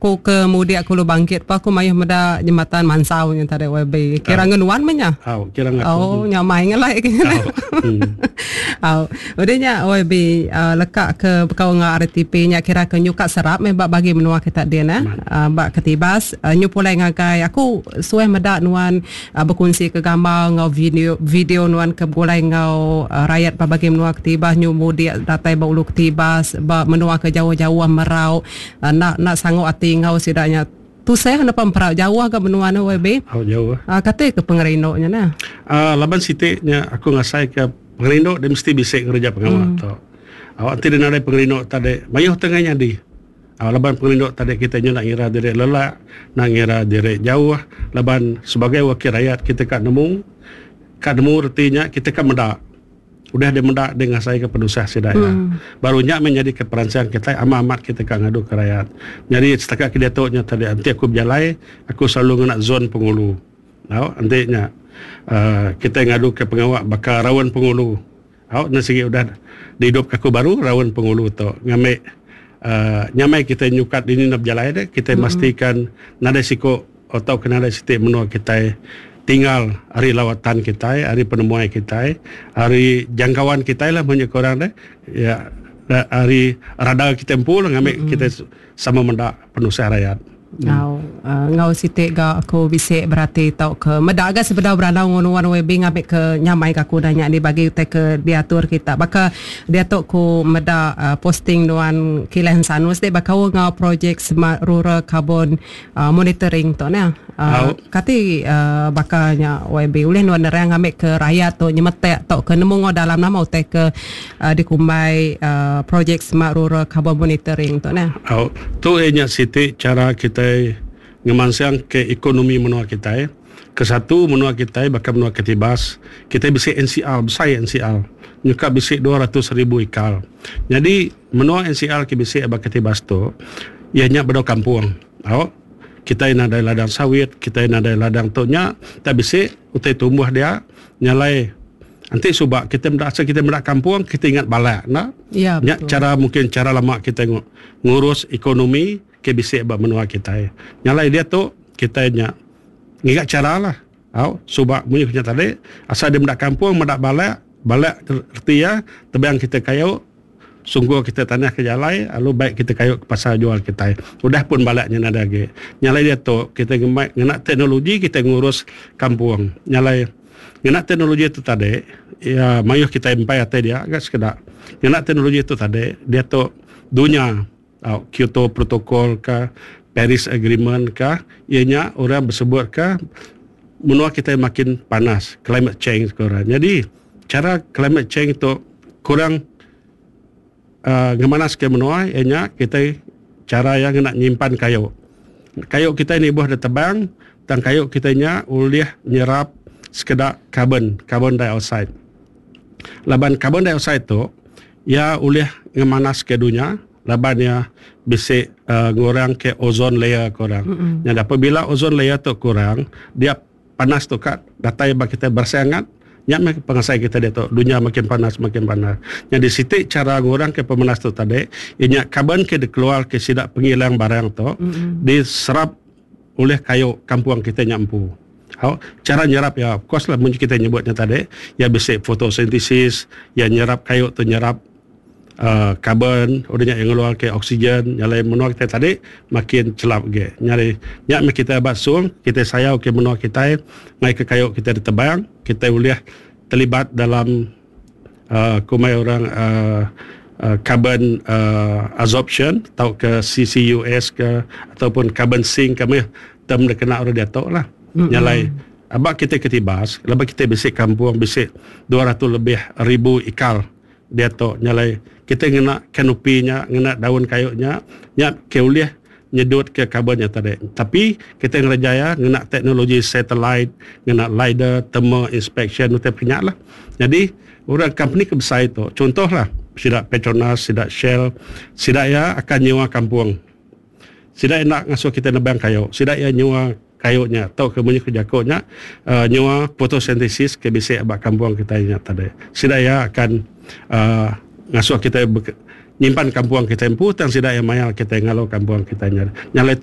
Ku ke mudik aku lu bangkit pa aku mayuh meda jematan mansau nya tadi YB. Kira ngan nuan meh nya. Au, kira ngan aku. Oh, nya mai ngelai ke nya. Au. Udah nya YB uh, leka ke bekau enggau RTP nya kira ke nyuka serap meh ba bagi menua kita din eh. Uh, ba Ketibas uh, nyu pulai ngagai aku suah meda nuan uh, bekunsi ke gambar enggau video video nuan ke begulai enggau uh, rayat ba bagi menua Ketibas nyu mudik datai ba ulu Ketibas ba menua ke jauh-jauh merau Enda enda sanggup ati enggau sida nya. Tusah nepa emperau jauh ga menua ne YB. Au jauh. Ah kati ke pengerindu nya neh. Ah laban siti nya aku ngasai ke pengerindu deh mesti bisi ngereja pengawa hmm. tu. Awak ti nadai pengerindu tadi mayuh tengah nyadi. Ah laban pengerindu tadi kita nya nak ngira diri lelak, nak ngira diri jauh laban sebagai wakil rakyat kita ka nemu ka nemu reti nya kita ka meda. Udah deh meda deh ngasaika penusah sida iya. Baru nya meh nyadika peransang kitai amat amat kitai ka ngaduka rayat. Nyadi setakat ke diatu nya tadi enti aku bejalai aku selalu ngena zon pengulu. Au enti nya uhh kitai ngaduka pengawa baka raun pengulu. Au ne sigi udah diidupka aku baru raun pengulu tu ngambi uhh nyamai kitai nyukat dini enda bejalai deh kitai memastikan nadai siku Tauka nadai siti menua kitai tinggal ari lawatan kitai, ari penemuai kitai, ari jangkauan kitai lah munyi ku orang deh. Ya ari radar kitai empu lah ngambi kitai sama meda penusah rayat. Enggau enggau siti ga aku bisi berati tauka meda ga sebedau berandau enggau nuan YB ngambi ke nyamai ga aku udah nya dibagi utai ke diatur kita. Baka Diatu ku meda posting nuan Kilah Ensanus ti bekaul enggau projek Smart Rural Carbon Monitoring tu neh. Kati baka nya YB ulih nuan nerang ngambi ke rayat tu nyemetak tauka nemu enggau dalam nama utai ke dikumbai projek Smart Rural Carbon Monitoring tu neh. Au, tu iya nya siti chara kitai ngemansang ke ekonomi menua kitai. Kesatu menua kitai baka menua Katibas, kitai bisi NCR, besai NCR. Nyuka bisi 200,000 ikar. Nyadi menua NCR ke bisi ba Katibas tu iya nya bedau kampung. Au kitai nadai ladang sawit, kitai nadai ladang tu nya tak bisi utai tumbuh dia nyalai enti suba kitai meda asal kitai meda kampung kitai ingat balak enda. Ya, nya chara mungkin chara lama kitai ngurus ekonomi ke bisi ba menua kitai. Nyalai diatu kitai nya ngiga chara lah. Au suba munyi ku nya tadi asal dia meda kampung meda balak, balak reti iya tebang kitai kayu sungkur kitai tanah ke jalai lalu bai kitai kayu ke pasar jual kitai. Udah pun balak nya nadai agi. Nyalai diatu kitai ngemai ngena teknologi kitai ngurus kampung. Nyalai ngena teknologi tu tadi iya mayuh kitai empai atai dia ga sekeda. Ngena teknologi tu tadi diatu dunya Tau Kyoto Protocol ka, Paris Agreement ka, iya nya orang besebut ka menua kitai makin panas, climate change ku orang. Nyadi chara climate change tu kurang uhh ngemanaska menua iya nya kitai chara iya ngena nyimpan kayu. Kayu kitai nibuh da tebang tang kayu kitai nya ulih nyerap sekeda karbon, carbon dioxide. Laban carbon dioxide tu Iya ulih ngemanaska dunya laban iya bisi ngurangka ozone layer ku orang. Nyadi apabila ozone layer tu kurang, dia panas tu ka datai ba kitai berasai angat, nya meh pengasai kitai diatu dunya makin panas makin panas. Nyadi siti chara ngurangka pemanas tu tadi iya nya karbon ke dikeluarka sida pengilang barang tu diserap ulih kayu kampung kitai nya empu. Au, chara nyerap iya, of course lah mun kitai nyebut nya tadi, iya bisi fotosintesis, iya nyerap kayu tu nyerap uhh karbon, udah nya iya ngeluarka oksigen, nya alai menua kitai tadi makin chelap agi. Nyadi nya meh kitai ba sung, kitai sayau ke menua kitai ngaika kayu kitai ditebang, kitai ulih terlibat dalam uhh kumbai orang uhh carbon uhh absorption tauka CCUS ke ataupun carbon sink ke meh term da kena orang diatu lah. Nya alai aba kitai ke Tibas laban kitai bisi kampung bisi 200 lebih ribu ikal diatu nya alai kitai ngena kanopi nya ngena daun kayu nya nya ke ulih nyedut ke karbon nya tadi. Tapi kitai ngereja iya ngena teknologi satellite, ngena lidar, thermal inspection utai pun nya lah. Nyadi orang company ke besai tu contoh lah sida Petronas, sida Shell, sida iya akan nyewa kampung. Sida iya enda ngasuh kitai nebang kayu, sida iya nyewa kayu nya tauka munyi ku jaku nya uhh nyewa photosynthesis ke bisi ba kampung kitai nya tadi. Sida iya akan uhh ngasuh kitai nyimpan kampung kitai empu tang sida iya mayar kitai ngalu kampung kitai nya. Nya alai tu.